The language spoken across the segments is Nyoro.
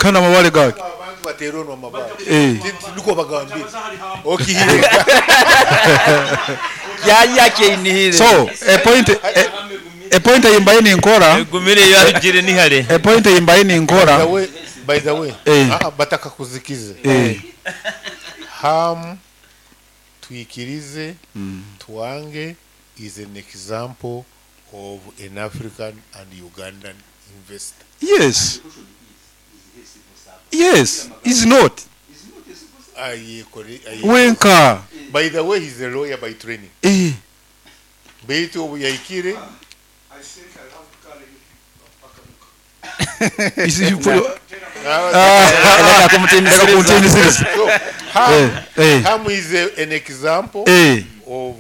Kandi amabare gake. Abantu bateera onu amabare. Eh. Niko bagambire okihiga. Yaya kyeinihire. So a point eyimbaye ninkora. Egumire yarugire nihare. A point eyimbaye ninkora. By the way, by the way, Eh. ah, bataka kuzikize. Ham Twikirize Twange is an example of an African and Ugandan investor. Yes, is not wenka. By the way, he's a lawyer by training. Beitu obu yahikire Reka kumutinisiza. Reka kumutinisiza. So, Ham, Eh. Ham is an example of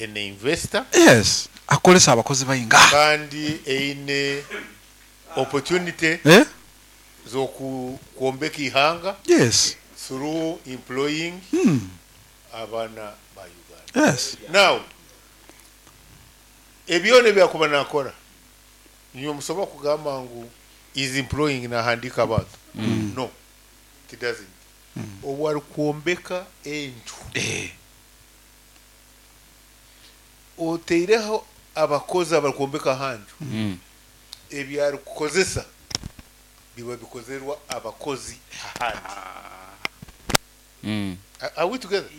an investor. Yes, akolesa abakozi bainga. Kandi eine opportunity z'okwombeka ihanga through employing abaana ba Uganda. Now, ebyona ebyakuba nakora, niyo musobola kugamba ngu is employing, nahandika abantu. No, it doesn't. Obu arikwombeka enju, oteireho abakozi abarikwombeka ahanju, ebyarikukozesa biba bikozerwa abakozi ahandi. Are we together?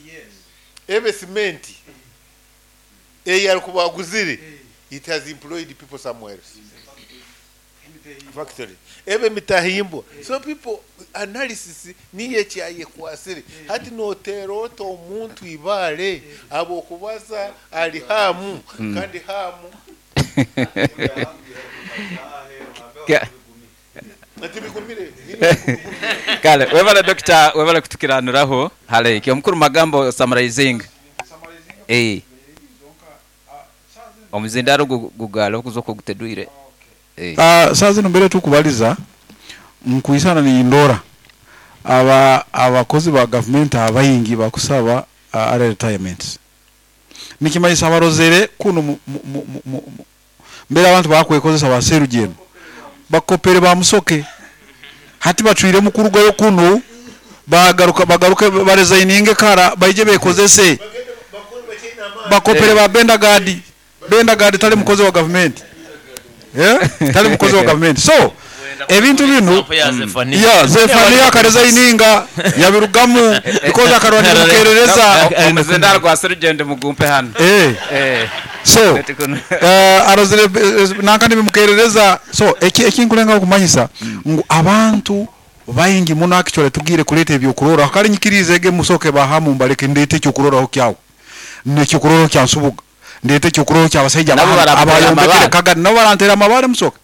Ebe simenti eyi arikuba aguzire, it has employed people somewhere else, factory ebe mitahimbwa. So people analysis niyo ekyayekwasire hati notera ota omuntu ibale abokubaza ali hamu kandi hamu ati bigumire. Kale, webale doctor, webale kutukiranuraho hale ikyo mukuru magambo summarizing. Omuzindaro gugalo okuzoka gutedwire. Ah, saa zino mbere tukubaliza nkuisana ni ndora aba abakozi ba government abayingi bakusaba early retirement, nikimanyisa abarozere kuno mbere abantu bakwekozesa baserugendo bakopere bamusoke hati bacwire mukurugayo kuno bagaruka bagaruke baresigninge kara baije bekozese bakopere ba Bendagadi. Bendagadi tali mukozi wa government, yeah? Tali mukozi wa government. So ebintu bino Example ya Zephania. Ya Zephania akaresigninga yabirugamu because akarwanira mukerereza. Omuzindaro gwa serugendo mugumpe hano. So Ati kuno. Arozere nankandi bimukerereza. So ekinkulenga okumanyisa ngu abantu baingi muno actually tugire kuleta ebyokurora kali nyikirize ege musoke bahamu mbaleke ndete ekyokuroraho kyawe nekyokuroraho kya Nsubuga, ndete ekyokuroraho kyabasajja Nabo barantera abayombekere amabare. Kagadi nabo barantera amabare. Musoke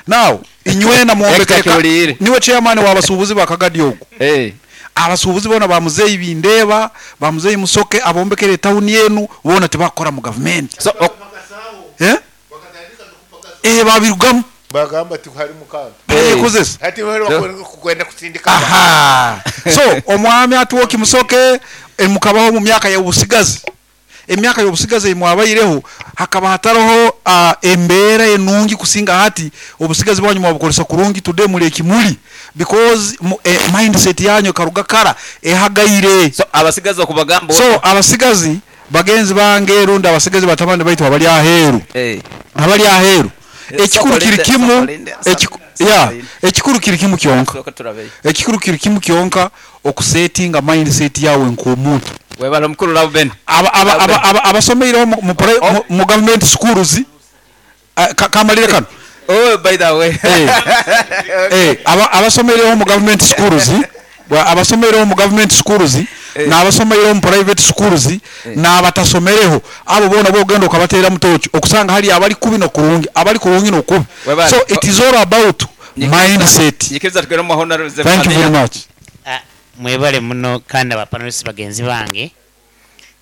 now inywena muwombekere Hector Kiwulire. Niwe chairman w'abasuubuzi ba Kagadi ogwo. Abasuubuzi bona bamuzeyi bindeba, bamuzeyi Musoke abombekere town yenu bona tebakora mu government. So Babirugamu. Bagamba ti hari mukanda. Bayekozesa. Hati bari kwenda kusindika. Aha, so omwami atuwoki Musoke, mukabaho mu myaka y'obusigazi, emyaka y'obusigazi emwabayireho hakaba hatariho embeera enungi kusinga hati. Obusigazi bwanyu mwabukozesa kurungi, today muli ekimuli because mindset yanyu karuga kara ehagaire. So abasigazi okubagamba. So abasigazi bagenzi bange rundi abasigazi batabani baitu abali aheeru, abali aheeru, ekikuru kiri kimu. Sokolinde, Ya, ekikuru kiri kimu kyonka. Soka turabeyo. Ekikuru kiri kimu kyonka, okusetinga mindset yawe nk'omuntu. Webale omukuru Lauben. Abasomeireho mu government schools, kamalire kano. Oh, by the way. Abasomeireho mu government schools, abasomeireho mu government schools n'abasomeireho mu private schools n'abatasomereho, abo bona bogenda okabateera mutoki okusanga hali abali kubi nokurungi, abali kurungi nokubi. Webale. So it is all about mindset. Nyikiriza tugere mu honorable. Thank you very much. Ah, mwebale muno kandi abapanelists bagenzi bange.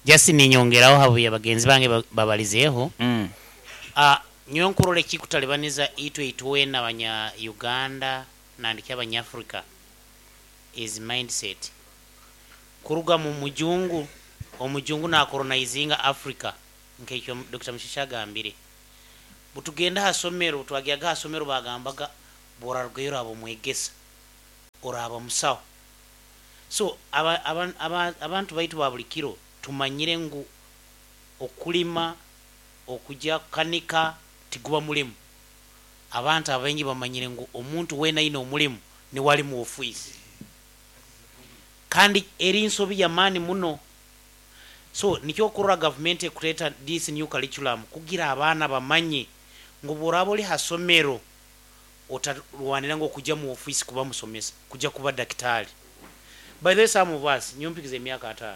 Just ninyongeraho habuye bagenzi bange babalizeeho. Ah, nyowe nkurora ekikutalibaniza itwe itwena abanya Uganda nandiki abanyafrika is mindset kuruga mu mujungu. Omujungu nakolonizinga Africa nkekyo Dr. Mushisha agambire, butugenda hasomero, twagyaga hasomero, bagambaga borarugayo abo mwegesa. Oraaba musaho. So aba, aba, aba, abantu baitu ba buli kiro tumanyire ngu okulima, okujya kukanika tiguba mulimu. Abantu abaingi bamanyire ngu omuntu weena aine omulimu niwe ali mu ofiisi. Kandi eri nsobi y'amaani muno. So nikyo okurora gavumenti ekureeta this new curriculum kugira abaana bamanye ngu bw'oraaba ori ha somero otarwanira ngu okujya mu ofiisi kuba musomesa, kujya kuba dakitaali. By the way, some of us, nyowe mpikize emyaka 50.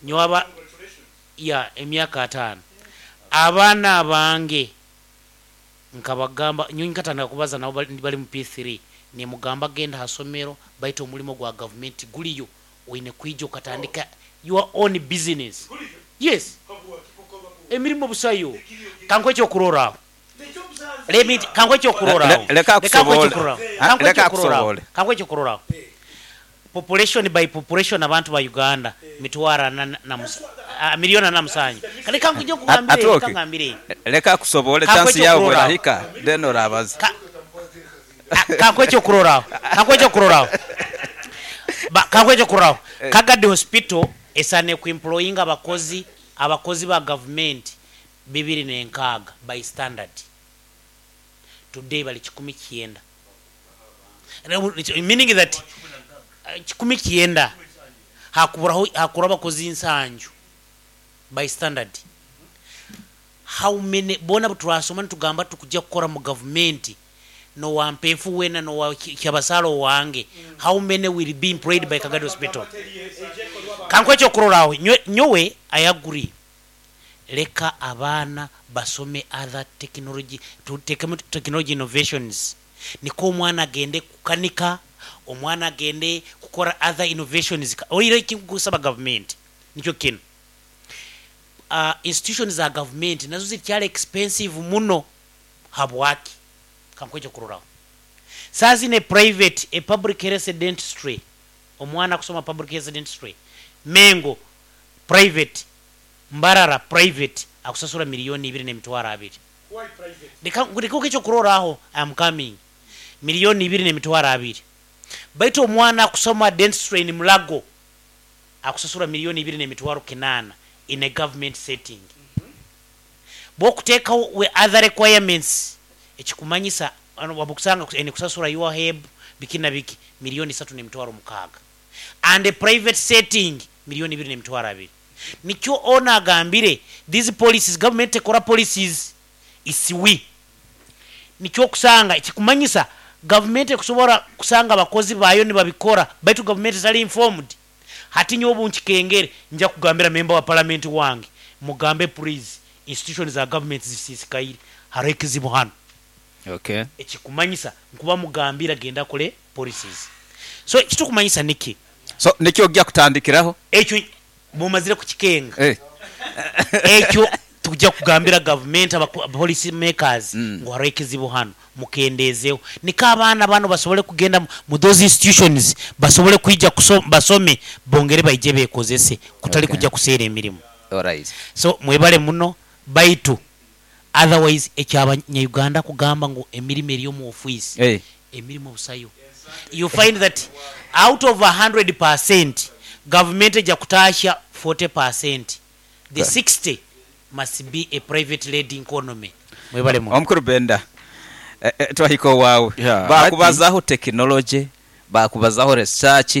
Nyowe aba, yeah, emyaka 50. Abaana abange nkabagamba, nyowe nkatandika kubaza nabo bali mu P3, nimugamba genda ha somero, baitu omulimo gwa gavumenti guliyo, oine kwija okatandika your own business. Yes. Emirimo busayo. Kankuhe ekyokurorraho. Let me kankuhe ekyokurorraho. Leka Kankuhe akusobole. ekyokurorraho. Ah, Kankuhe leka ekyokurorraho. akusobole. Kankuhe ekyokurorraho. Population by population abantu ba Uganda mitwaro ana na 47 million. Reka nkuje nkugambire, Atwoke. reka ngambire. Leka akusobole Kankuhe chance yawe ekyokurorraho. bwerahika then orabaza. Kankuhe ekyokurorraho. Kankuhe ekyokurorraho. Kankuhe ekyokurorraho. Kagadi Hospital esaine kuemployinga abakozi ba government 206 by standard. Today bali 190. Meaning that 190 hakuburaho hakura abakozi 70 by standard. How many bona turasoma nitugamba tukujja kukora mu government no wampefu wena no wa kyabasalo wange, how many will be employed by Kagadi Hospital? Kankuhe ekyokurorraho. Nyowe I agree, leka abaana basome other technology, tutekemu technology innovations, niko omwana agende kukanika, omwana agende kukora other innovations. Oire ekinkusaba government nikyo kino, institutions za government nazo zikyali expensive muno. Habwaki? Kankuhe ekyokurorraho. Saa zino private, a public health dentistry, omwana kusoma public health dentistry Mengo private, Mbarara private, akusasura 2,200,000. Reka ekyokurorraho, I am coming. 2,200,000, baitu omwana akusoma dentistry in Mulago akusasura 2,800,000 in a government setting. Bwokuteekawo we other requirements, ekikumanyisa wabukusanga ene kusasura your heb biki na biki, 3,600,000, and a private setting 2,200,000. Nikyo ona agambire these policies, government ekora policies isiwi. Nikyo okusanga ekikumanyisa government ekusobora kusanga abakozi bayo nibabikora, baitu government etali informed. Hati nyowe obu nkikengere, nja kugambira member wa parliament wange, mugambe please, institutions za government zisisikaire, hariho ekizibu hano. Ekikumanyisa nkuba mugambira genda akole policies. So ekitukumanyisa niki? So nikyo ojja kutandikiraho? Ekyo bumazire kukikenga. Ekyo tujja kugambira government, policy makers, ngu hariho ekizibu hano, mukendeezeho, niko abaana bano basobole kugenda mu those institutions, basobole kwija basome, bongere baije bekozese, kutali kujja kuseera emirimu. So mwebale muno, baitu otherwise ekyabanya-Uganda kugamba ngu emirimu eri omu ofiisi, emirimu obusayo. You find that out of 100% government ejja kutaasha 40%, the 60 must be a private led economy. Mwebale muno. Omukuru Benda, twahika owaawe. Bakubazaho technology, bakubazaho research,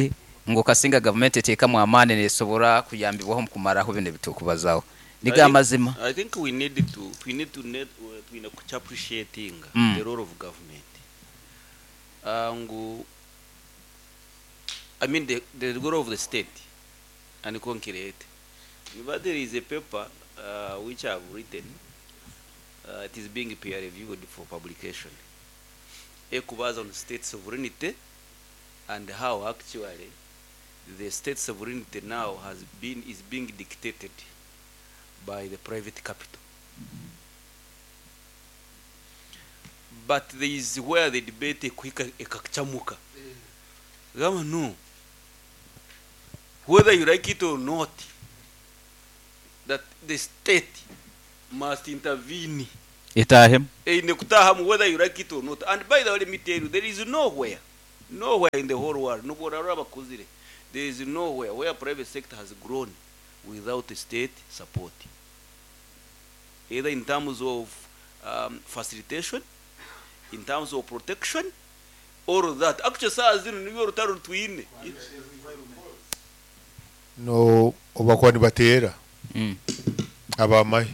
ngu kasinga gavumenti eteekamu amaani nesobora kuyambibwaho mu kumaraho bino ebitukubazaho. Niga amazima. I think we need to twine kucha appreciating the role of government. Ngu I mean the role of the state and concrete. But there is a paper which I have written. It is being peer reviewed for publication. Ekubaza on state sovereignty and how actually the state sovereignty now has been is being dictated by the private capital. But there is where the debate ekuhika ekachamuka. Gama no. Whether you like it or not, that the state must intervene. Itahemu. Eine kutahamu whether you like it or not. And by the way, let me tell you, there is nowhere Nowhere in the whole world, nubwo orarora bakuzire, there is nowhere where private sector has grown without state support, either in terms of facilitation, in terms of protection, all of that. Actually, saa zino nibyo rutaro rutwine. No obakuba nibateera abamahe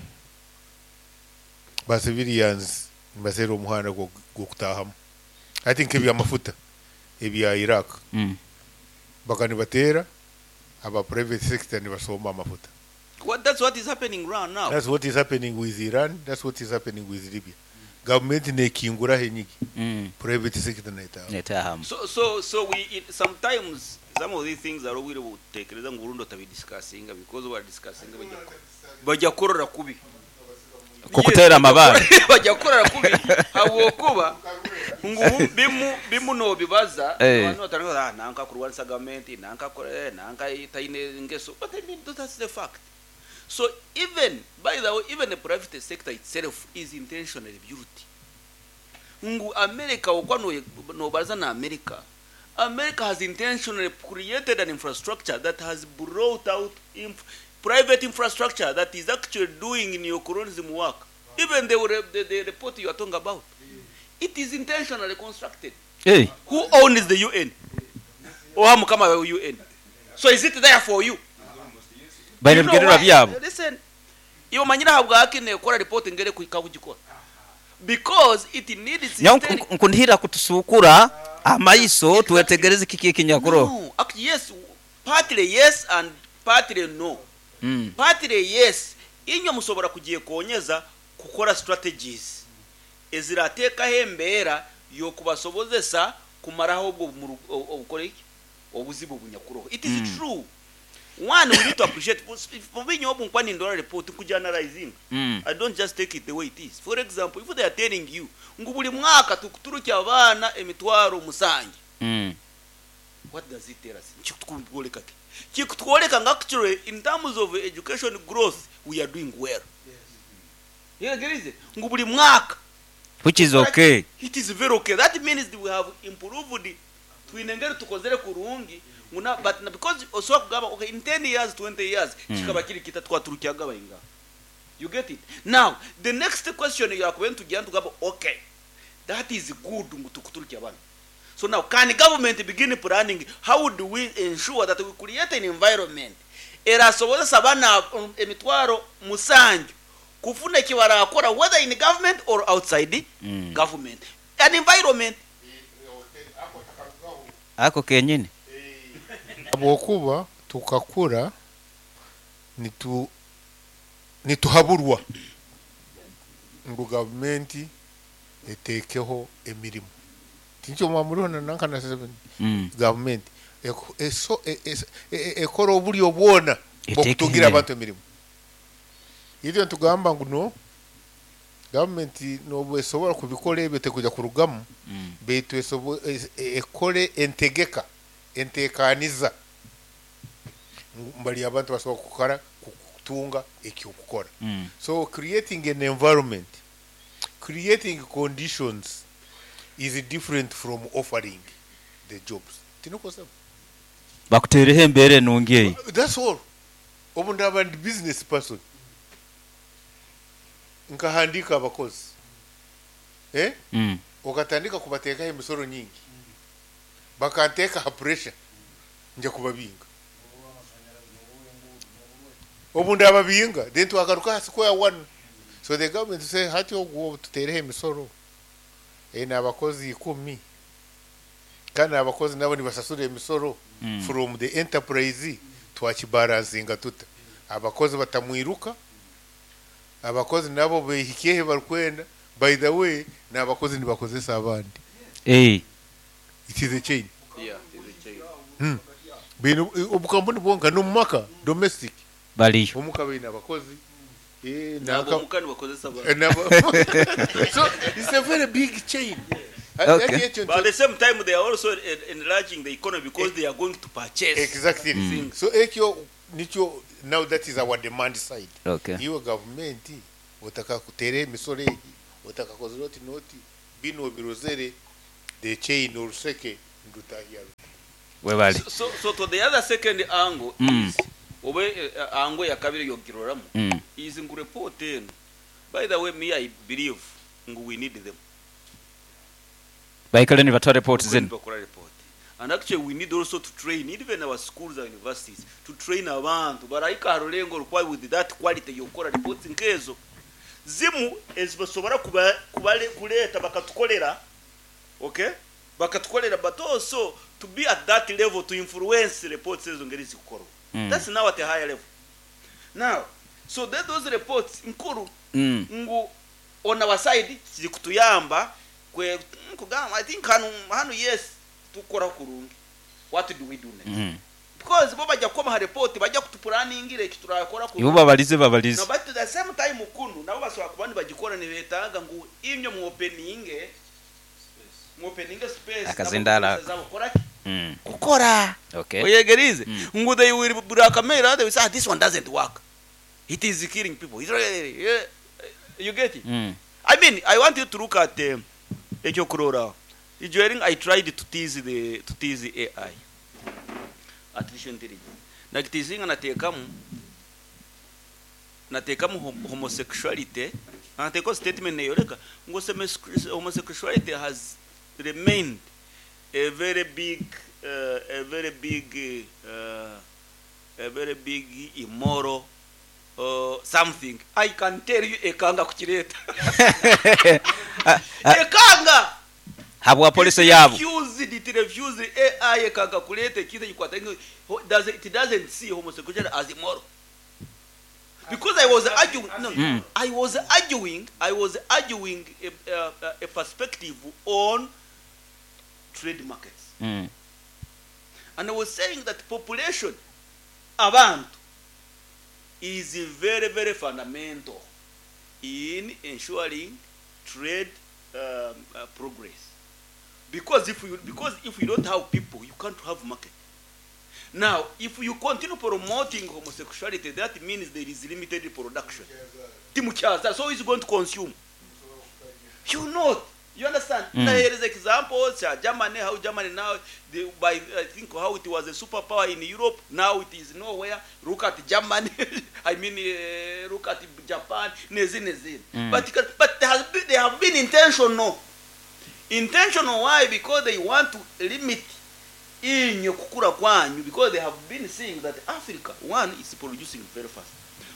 ba civilians nibaseera omuhanda gw'okutahamu. I think ebyamafuta ebya Iraq baka nibateera aba private sector nibasomba amafuta. What, that's what is happening right now. That's what is happening with Iran, that's what is happening with Libya. Government nekinguraho enyigi, private sector netaha. Netahamu. So we sometimes some of these things are obwire butekereza ngu Burundi otabidiscussinga, because we are discussing bajya korora kubi. Kukutera amabare. Bajya korora kubi habwokuba ngu bimu nobibaza abantu batanga nanka kurwanisa government, nanka kore, nanka itaine ngeso, but I mean that's the fact. So even by the way, even the private sector itself is intentionally built. Ngu America okwa no baza na America. America has intentionally created an infrastructure that has brought out private infrastructure that is actually doing neocolonialism work. Even the report you are talking about, it is intentionally constructed. Hey. Who owns the UN? Oha mukama wa UN. So is it there for you? Baine You know bigendererwa why? byabo. Listen, iwe manyira habwaki nekora report ngere kugikora. Because it needs Nyawo systemic- nkundihira kutusukura amaiso twetegereze kiki ekinyakuro. No, actually yes, partly yes and partly no. Partly yes, inywe musobora kugyekonyeza kukora strategies ezirateekaho embeera y'okubasobozesa kumaraho obwo obukora iki obuzibu bunyakuroho. It is true. One, we need to appreciate. For me, nyobu nkwani ndora report kujournalizing. I don't just take it the way it is. For example, if they are telling you ngu buli mwaka tukuturukya abaana emitwaro 7, what does it tell us? Kikutwoleka ki? Kikutwoleka nga actually in terms of education growth we are doing well. Yes. Yeah, ngu buli mwaka, Which is okay. It is very okay. That means we have improved. Twinengere tukozere kurungi. Nguna, but na because osobola kugamba okay in 10 years 20 years kikaba kiri kita twaturukyaga bayinga. You get it? Now the next question you are going to get to gamba okay, that is good ngu tukuturukya bana. So now can government begin planning how do we ensure that we create an environment erasobozesa bana emitwaro 7 kufuna ekibarakora whether in government or outside government, an environment Ako kenyini Habwokuba tukakura nituhaburwa ngu gavumenti etekeho emirimu. Tinkyo mwamurihona nanka na 7 gavumenti ekora obulyo bwona bw'okutungira abantu emirimu. Itwe ntugamba ngu no gavumenti nobwo esobora kubikora ebyo tekuja kurugamu, beitu ekore entegeka entekaniza mbali abantu basobola kukora kutunga ekyokukora. So creating an environment, creating conditions is different from offering the jobs. Tinokosaba bakutereho embere nungi eyi. That's all. Obu ndaba ndi business person, nkahandika abakozi, okatandika kubateekaho emisoro nyingi, bakanteeka ha pressure nja kubabinga. Obu ndababinga then twagaruka ha square one. So the government say hati ogwo tutereho emisoro n'abakozi 10 kandi abakozi nabo nibasasura emisoro from the enterprise, twakibalansinga tuta abakozi batamwiruka, abakozi nabo behikehe barikwenda. By the way, n'abakozi nibakozesa abandi. It is a chain. Yeah, it is a chain. Bino obukampuni bwonka n'omumaka domestic baliyo omuka baine abakozi nabo omuka nibakozesa abandi. So it's a very big chain. Okay. But at the same time they are also enlarging the economy because they are going to purchase. Exactly. So ekyo nicho now that is our demand side. Okay. Iwe government otaka kutere emisoro egi, otaka kozera oti noti bino birozere the chain oruseke Ndutahya ruta? Webale. So to the other second angle is obe angle ya kabiri yogiroramu is ngu report eno. By the way, me, I believe ngu we need them. Baikale nibatwara report zinu. Bakora report. And actually we need also to train even our schools and universities to train abantu barayika harulengo rukwa with that quality yokora reports nkezo zimu ezibasobora kuba kubale kuleta bakatukolera, okay, bakatukolera, but also to be at that level to influence reports ezo ngeri zikukorwa. That's now at a higher level now. So that those reports nkuru ngu on our side zikutuyamba kwe kugamba, I think hanu yes, tukora kurungi. What do we do next? Because bo bajya kubaha report, bajya kutuplanningira eki turakora Ibo kurungi. babalize babalize. No, but at the same time kunu nabo basobora kuba nibagikora, nibetaaga ngu imyo mu openinge space. Akazindala. Nabo zabo kora ki? Kukora. Oyegerize ngu they will blackmail, they will say, "Ah, this one doesn't work, it is killing people." It's really, yeah, you get it? I mean, I want you to look at ekyokurora. During I tried to tease the AI, artificial intelligence. Nakiteasinga nateekamu homosexuality. Nateekaho statement neyoleka ngu homosexuality has remained a very big immoral something. I can tell you, ekanga kukireeta, ekanga. Habwa policy yabo. It refused. AI ekanga kuleta ekintu ekikwata it doesn't see homosexuality as immoral because I was arguing, no, I was arguing a perspective on trade markets and I was saying that population, abantu, is very, very fundamental in ensuring trade progress, because if you don't have people, you can't have market. Now, if you continue promoting homosexuality, that means there is limited production. Timukyaza, so is going to consume you not, you understand? Now here is examples, Germany, how Germany now, by I think how it was a superpower in Europe, now it is nowhere. Look at Germany, I mean, look at Japan, nezin nezin. But they have been intentional. Intentional, why? Because they want to limit inye kukura kwanyu, because they have been seeing that Africa, one, is producing very fast,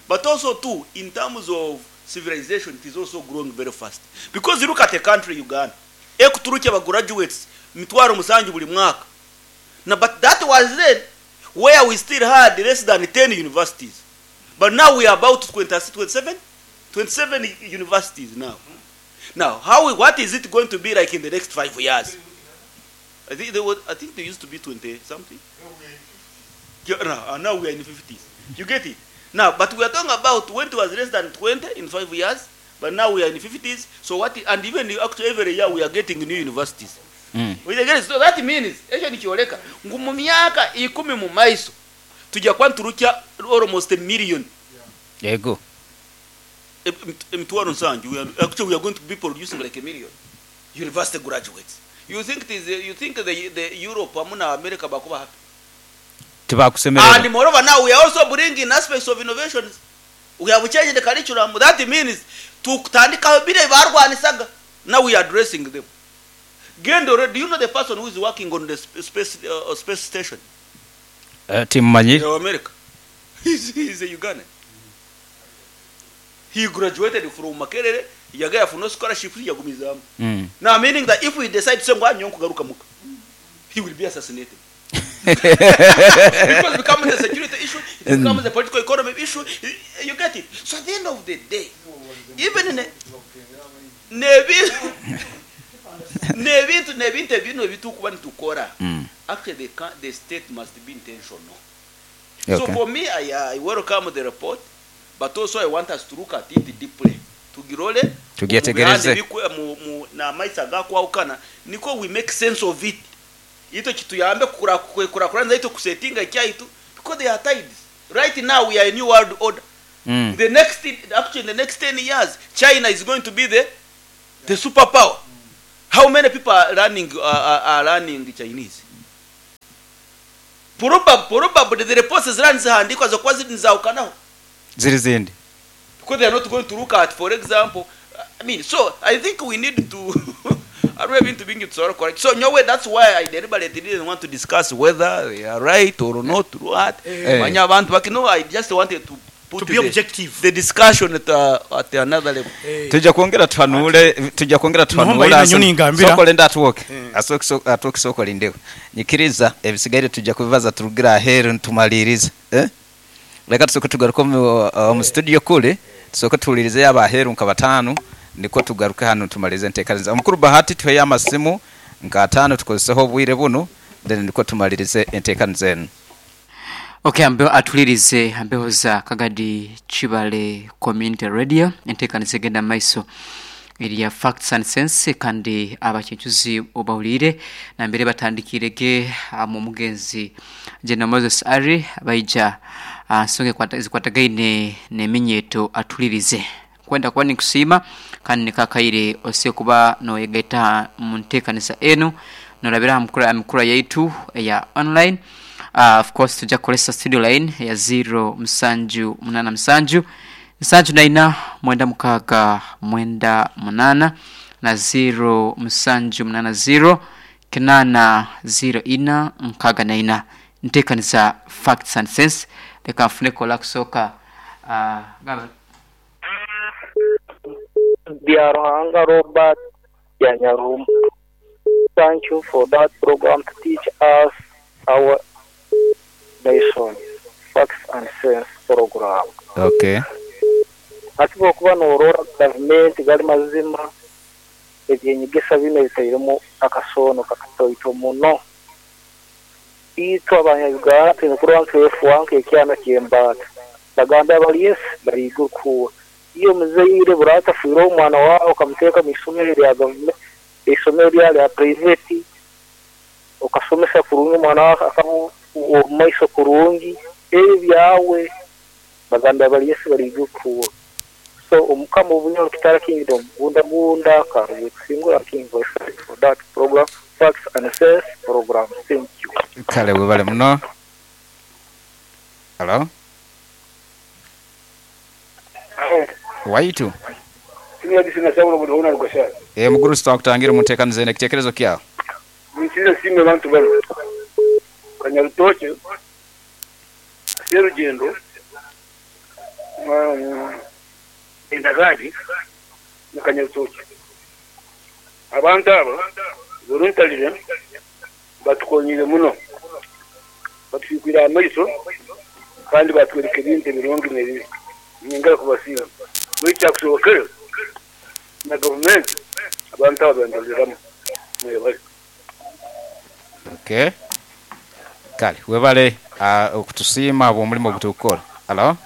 but also two, in terms of civilization, it is also growing very fast. Because you look at a country, Uganda, ekuturuki aba graduates 700,000 buli mwaka na, but that was then where we still had less than 10 universities, but now we are about 20, 27 universities now. Now what is it going to be like in the next 5 years? I think there used to be 20 something. Yeah, no, now we are in the 50s. You get it? Now, but we are talking about when it was less than 20 in 5 years, but now we are in the 50s. So what? And even actually every year we are getting new universities. We get it? So that means ekyo nikyoleka ngu mu myaka 10 mu maiso tujja kuba nturukya almost a million. Yego. 700,000. We are actually, we are going to be producing like a million university graduates. You think the Europe hamu na America bakuba happy? Tibakusemerera. And moreover, now we are also bringing aspects of innovations. We have changed the curriculum. That means tutandika bile barwanisaga, now we are addressing them. Gendo, do you know the person who is working on the space station? Timmanyi. In America. He's a Ugandan. He graduated from Makerere, yagaya for no scholarship, yagumizamu. Now, meaning that if we decide to say, "Ngwa nyo muka," he will be assassinated. Because it becomes a security issue, it becomes a political economy issue. You get it? So at the end of the day, even in a, nebintu ebino ebitukuba nitukora, actually the state must be intentional. So for me, I welcome the report, but also I want us to look at it deeply. Tugirole, Tugyetegereze. mu bihande n'amaiso agakwawukana, niko we make sense of it. Ito kituyambe kukurakurana ito kusetinga ekyaitu, because they are tides. Right now we are a new world order. The next, actually in the next 10 years, China is going to be the superpower. How many people are learning, are learning Chinese? Probably the reports zirani zihandikwa zokuba ziri nizahukanaho ziri zindi because they are not going to look at, for example, I mean, so I think we need to hariho ebintu bingi tusobora kukora. So nyowe, that's why I deliberately didn't want to discuss whether they are right or not, what. Manya abantu baki, no, I just wanted to put To be objective. the discussion at another level. Tujja kwongera tuhanule, tujja kwongera Nohomba tuhanule. ina nyoni ngambira. Soko lenda atuwoke atuwoke soko lindeho nyikiriza ebisigaire tujja kubibaza turugira aheru ntumalirize, eh? Leka tusooke tugaruke omu studio kule, tusooke tuwulirize abaheru nka batano, niko tugaruke hano tumalirize enteekaniza. Omukuru Bahati, tuheyo amasimu nka atano tukozeseho obwire buno, then niko tumalirize enteekaniza enu. Okay, ambeho atulirize ambeho za Kagadi Chibale Community Radio, enteekaniza egenda maiso erya Facts and Sense, kandi abakincuzi obawulire nambere batandikirege mu mugenzi General Moses Ari baija nsonga zikwatagaine n'eminyeto atulirize kwenda kuba nikusiima kandi nikakaire ose kuba noyegaita mu nteekaniza enu norabira aha mukura yaitu eya online. Of course tujja kukolesa studio line ya 0 musanju munana musanju nsanju naina mwenda mukaaga mwenda munana na 0 musanju munana 0 kinana 0 ina nkaaga naina. Nteekaniza Facts and Sense. Leka nfune kola kusooka gamba. Byaruhanga Robert Yanyarum. Thank you for that program to teach us our nation. Facts and Sense program. Okay. Ati bwokuba norora gavumenti gali mazima ebyenyegesa bino bitairemu akasono kakatoito muno. Itwe abanya-Uganda twine kurora nk'efu nk'ekyana ky'embaata. Bagamba abali esi bariga okuwa. Iyo muzaire buratafiire omwana wawe okamuteeka mu isomero rya gavumenti, isomero rya private, okasomesa kurungi omwana wawe akaba omu maiso kurungi, ebyo byawe bagamba abali esi bariga okuwa. So omukama obunyoro Kitara Kingdom gunda gunda karuwe kusingura King Voice for that program, Facts and Sense program. Thank you. Kale webale muno. Hello, waitu mukuru sitakutangira muteekaniza ene ekiteekerezo kyawe. Nsize sime bantu bano Kanyarutoke, Serugendo, Endagadi na Kanyarutoke. Abantu abo voluntarily batukonyire muno, batufikwira amaiso kandi batwereka ebintu ebirungi n'ebibi. Nyingara kubasiima buri kyakusobokere na gavumenti abantu abo bandoleramu mwebale. Okay. Kale webale okutusiima obw'omulimu ogutukukora. Hello.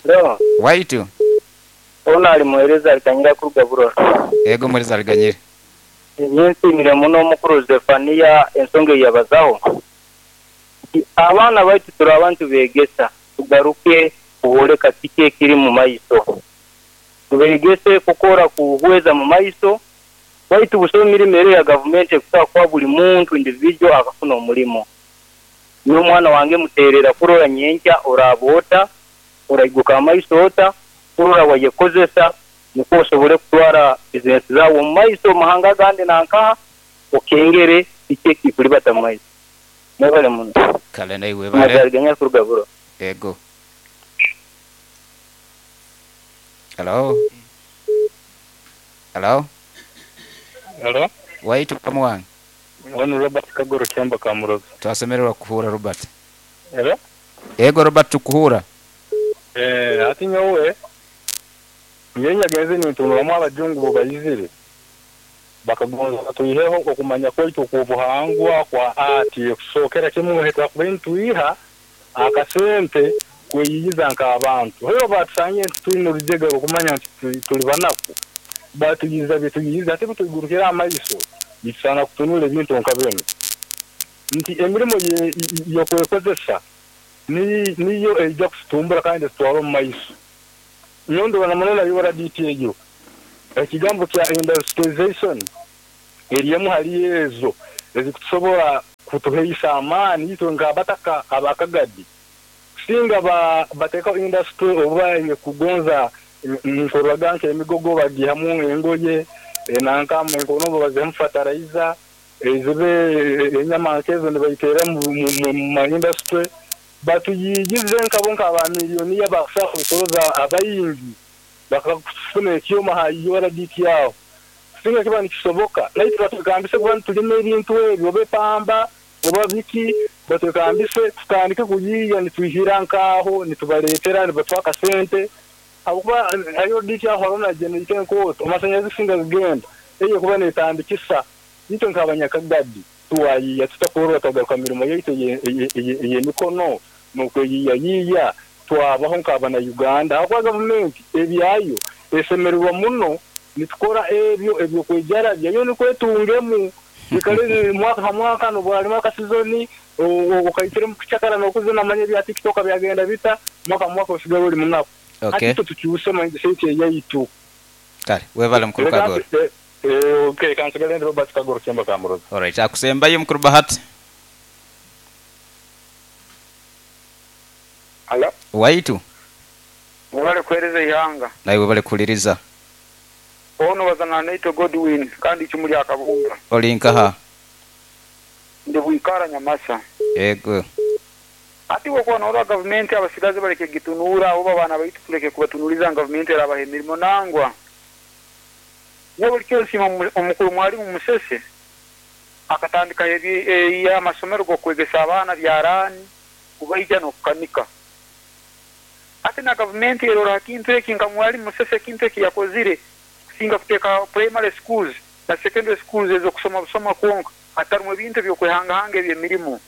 Hello. Waitu Ono ali muhereza aliganyira kuruga Burora. Ego muhereza aliganyire. Nyensimire muno omukuru Zefania ensonga eyabazaho. Abaana baitu turi abantu begesa tugaruke kuboleka kiki ekiri mu maiso. Tubegese kukora kuhweza mu maiso baitu busoma emirimo ero ya gavumenti ekusobola kuwa buli muntu individual akafuna omulimo. N'omwana wange muterera kurora nyenkya oraboota oraiguka amaiso ota kurora wayekozesa nikwo osobole kutwara bizinesi zawe omu maiso omu mahanga agandi nankaha okengere kiki ekikuribata mu maiso. Mwebale muno. Kale naiwe webale. Mazariganya kuruga Burora. Ego. Hello. Hello. Hello. Waitu kama wange. Wano Robert Kagoro Kyamba Kamuroza. Twasemererwa kuhura Robert. Hello. Ego Robert tukuhura. Ati nyowe nyenyagenze nintunulamu abajungu bo bayizire bakagonza batuiheho okumanya kwaitu okubuhangwa kwa ati ekusookera kimwe twakuba nituiha akasente kweyiyiza nk'abantu. Heyo batusanye nti twine orujega okumanya nti tuli banaku batuyiza bituyiza ate butugurukira amaiso bitusana kutunula ebintu nka bino nti emirimo yokwekozesa niyo eija kututumbura kandi etutwara omu maiso. Nyondo na munona yora DT ejo Ekigambo kya industrialization eri emu hali ezo ezikutusobora kutuheisa amaani itwe nk'abataka aba Kagadi. Kusinga bateekaho industry oba ey'okugonza nkorraga nk'emigogo bagiihamu engoye, nanka enkonombo baziihamu fertilizer, zibe enyama nk'ezo nibaiteera mu ma industry, batuyiigize nkabo nk'aba millionaire bakusobora kwesoroza abaingi bakafuna ekyoma ha URDT aho. Kusinga kiba nikisoboka, naitwe batwekambise kuba nitulima ebintu ebi oba epamba oba biki, batwekambise tutandike kuyiiya nitwihira nk'aho nitubaleetera nibatuha akasente, habwokuba ha URDT aho haroho na generator enkooto, amasanyarazi kusinga gagenda, eyo ekuba neetandikisa. Itwe nk'Abanyakagadi twayiiya tuta kurora twagaruka mirimo yaitu ey'emikono n'okweyiiyayiiya twabaho nk'abana Uganda habwokuba gavumenti ebyayo esemererwa muno nitukora ebyo eby'okwejarabya yo nukwo etungemu ikale mwaka ha mwaka n'obworalima akasizoni okaikiremu kucakara n'okuzina manya ebya tiktok byagenda bita mwaka ha mwaka osigara oli munaku. Hati itwe tukyuse mindset eyaitu. Kale webale mukulu Kagoro. Okay, kansigale ndi Robert Kagoro Kyemba Kamuroza. Alright, akusembayo mukulu Bahati. Hallo. Waitu. Mwebale kuhereza eihanga. Naiwe webale kuhuliriza. Ono baza na Naitwe Godwin kandi icumu lya Kabunga. Oli nkaha? Ndi Bwikara Nyamasa. Yego. Hati bwokuba norora gavumenti abasigazi baleke kugitunuura oba abaana baitu tuleke kubatunuliza ngu gavumenti erabaha emirimo nangwa. Nyowe bulikiro nsiima omukuru Mwalimu Musese akatandikaho amasomero g'okwegesa abaana byaraani, kubaija n'okukanika. Hati na gavumenti erora ha kintu eki nka Mwalimu Musese ekintu eki yakozire kusinga kuteeka primary schools na secondary schools ez'okusoma busoma kwonka hatarumu ebintu eby'okwehangahanga eby'emirimo.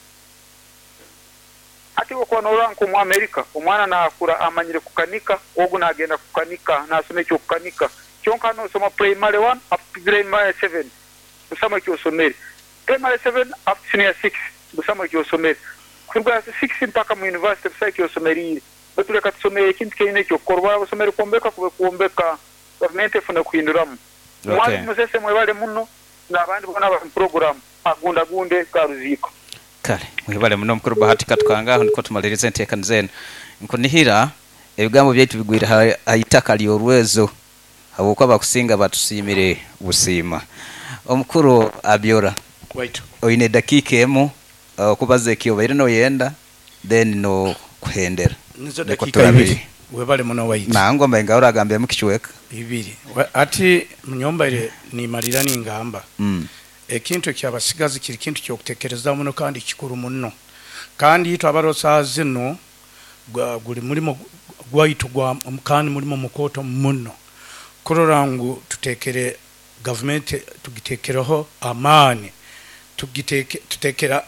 Hati bwokuba norora nk'omu America omwana nakura amanyire kukanika, ogu nagenda kukanika nasoma eky'okukanika. Kyonka hanu osoma primary one up to primary seven busamu ekyosomere. Primary seven up to senior six busamu ekyosomere. Kuruga six mpaka mu university busaho ekyosomeriire. Baitu leka tusome ekintu kyenyini ekyokukora. Obworaba osomere kwombeka kube kwombeka. Gavumenti efune kuhinduramu. Mwalimu Musese mwebale muno nabandi boona abali mu puroguramu agundagunde ga Ruziiko. Kale mwebale muno mukulu Bahati Katukanga aho nikwo tumaliriza enteekaniza eno. Nkunihira ebigambo byaitu bigwire ha itaka ly'orwezo habwokuba abakusinga batusiimire busiima. Omukulu Abiora, oine edakiika emu okubaza eki obaire noyenda then n'okuhendera. Nizo Nikwo dakiika turabire. ibiri. Webale muno waitu. Nangwa mbaire nga oragambiremu kicweka. Ibiri. Hati nyowe mbaire nimalira ningamba. Ekintu eky'abasigazi kiri kintu ky'okutekerezaho muno kandi kikuru muno. Kandi itwe abaroho saaha zinu guli mulimo gwaitu kandi mulimo mukooto muno kurora ngu tutekere gavumenti tugitekereho amaani, tutekere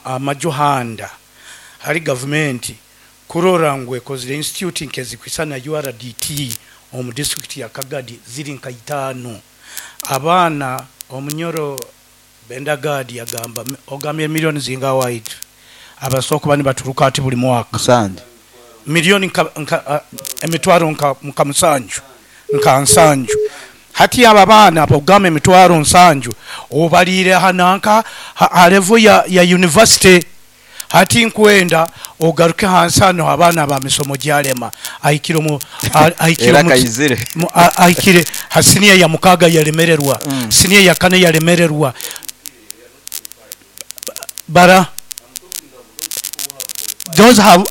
amaju handa hali gavumenti kurora ngu ekozire institute nk'ezikwisana URDT omu disiturikiti ya Kagadi ziri nka itaano. Abaana Omunyoro Bendagadi yagamba, Ogambye milioni zingaha waitu abasobola okuba nibaturuka hati buli mwaka? Musanju. Milioni nka, nka, emitwaro nka, nka musanju, nka nsanju. Hati abo abaana b'ogamba emitwaro nsanju obaliire ha nanka, ha, ha level ya, ya university. Hati nkwenda ogaruke hansi hano abaana ba misomo gyalema ahikire omu ahikire Era omu kaizire. ahikire ha siniya ya mukaaga yalemererwa, siniya ya kana yalemererwa. Bara those have,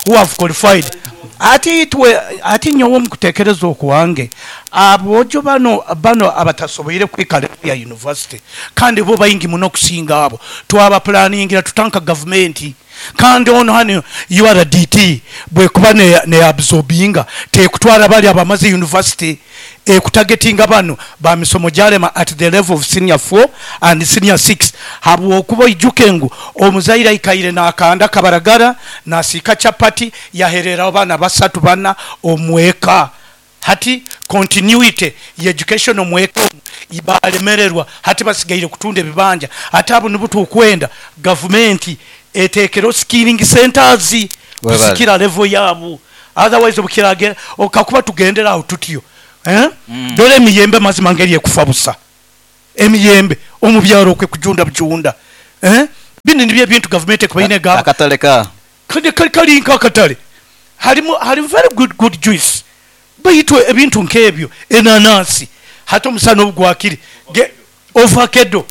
who have qualified. Hati itwe, hati nyowe omu kutekereza okwange, aboojo bano bano abatasoboire kuhika level ya university kandi bo baingi muno okusinga abo, twaba pulaningira tuta nka gavumenti? Kandi ono hanu URDT bwekuba ne absorbinga tekutwara bali abamaze university, ekutagetinga bano ba misomo gyalema at the level of senior four and senior six habwokuba oijuke ngu omuzaire aikaire nakanda kabaragara, nasiika chapati, yahereraho abaana basatu bana omweka. Hati continuity ye education omweka omu balemererwa hati basigaire kutunda ebibanja ate abo nibo tukwenda gavumenti etekereho skilling centers Webale. kusikira level yabu otherwise obukirage kakuba tugendera aho tutyo. Eh? Dora emiyembe mazima ngeri ekufa busa. Emiyembe omu byaro okwe kujunda bujunda. Eh? Bino nibyo ebintu gavumenti ekubaine egamba. Akatale ka Kali kali kali nk'akatale. Harimu harimu very good good juice. Baitu ebintu nk'ebyo enanansi hati omusana obu gwakire ge ovakedo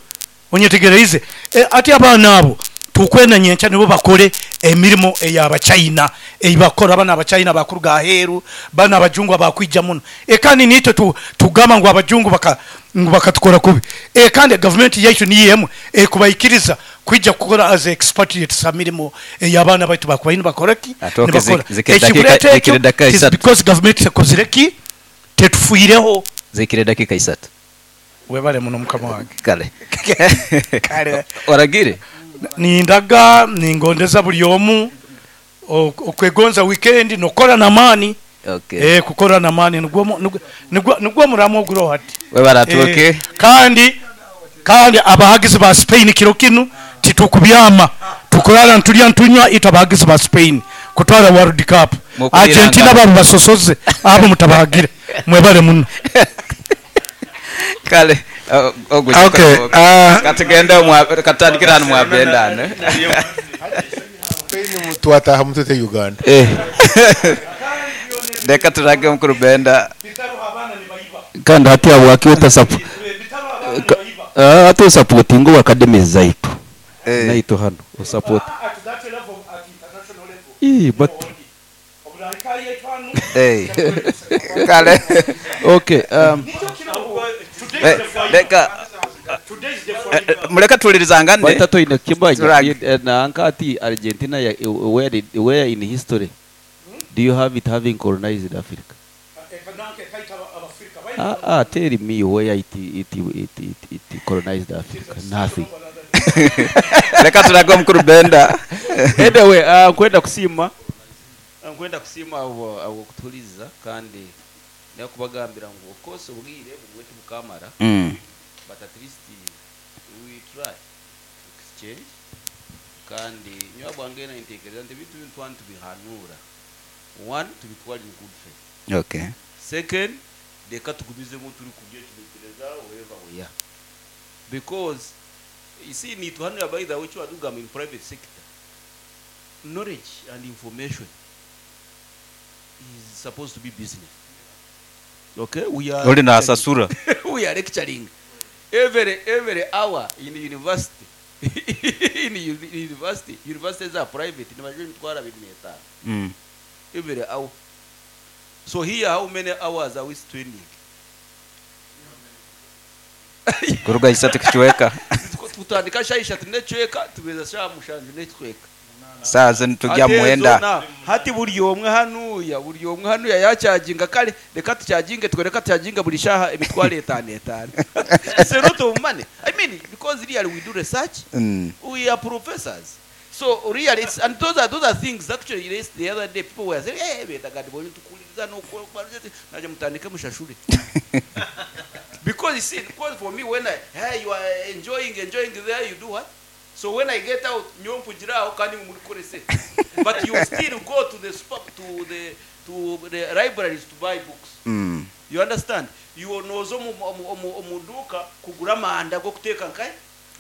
onyetegereize e, ati abaana abo tukwenda nyenkya nibo bakore emirimo ey'Abachina ei bakora banu Abachina bakuruga aheeru banu abajungu abakwija muno e, kandi niitwe tu, tugamba ngu abajungu baka, ngu bakatukora kubi e, kandi gavumenti yaitu niyo emu ekubaikiriza kwija kukora as expatriates ha mirimo ey'abaana baitu bakubaire nibakora ki Atooke nibakora zikire dakika ekikuleeta ekyo zikire dakika is isatu. because gavumenti tekozire ki tetufiireho. Zikire dakika isatu. Webale muno mukama wange. Kale. Kale. Oragire? Nindaga ningondeza buli omu okwegonza weekend nokora n'amaani. Okay. Eh, kukora n'amaani nigwo nigwo nigwo muramu oguro hati. Webale atuuke. Eh, kandi kandi abahagizi ba Spain kiro kinu titukubyama tukurara ntulya ntunywa itwe abahagizi ba Spain kutwara World Cup. Mukuliranga. Argentina babo basosoze abo mutabahagire mwebale muno. Kale ogwo Okay, katugende katandikira hano mwabendane. Twataha mutute Uganda. Eh. Reka turage mukuru Benda. Kandi hati habwaki hati osapotinga academies zaitu Eh. naitu hano osapoti Ii, but Eh. Kale. Okay, Reka muleka tulirizangane. Baita toine kimanya Turage. nanka ati Argentina ya, where in history do you have it having colonized Africa? Tell me where it colonized Africa. Nothing. Reka turage mukuru Benda. Anyway, nkwenda kusiima abo kutuliza kandi nakubagambira ngu of course obwire bugwe tibukamara. But at least we try to exchange kandi nyowe bwange nintekereza nti ebintu binu twani tubihanura one tubitwale in good faith. Okay. Second, reka tugumizemu turi kubyecumitiriza wherever we are, because you see nituhanura by the way icyo in private sector knowledge and information is supposed to be business. Okay, we are Oli nasasura. we are lecturing every hour in university. In university, universities are private nibajwe emitwaro abiri n'etaano every hour. So here how many hours are we spending? Kuruga isatu kichweka. Tutandika sha ishatu n'ecweka tugeza sha mushanju n'ecweka. Saa zino tujya Ate mwenda. zona, hati buri omwe hanuya buri omwe hanuya yachaginga kale reka tuchaginge twe reka tuchaginga buri shaha emitwaro etano etano. It's a lot of money. I mean, because really we do research. We are professors. So really it's, and those are things actually raised the other day. People were saying, hey, beta gadi bonye tukuliriza no naje mutandike mushashure. Because you see, because for me when I, hey, you are enjoying there, you do what? So when I get out, nyompujiraho kandi murikorese. But you still go to the super, to the libraries to buy books. You understand? You nozo mu duka kugura amanda go kuteka nkaye.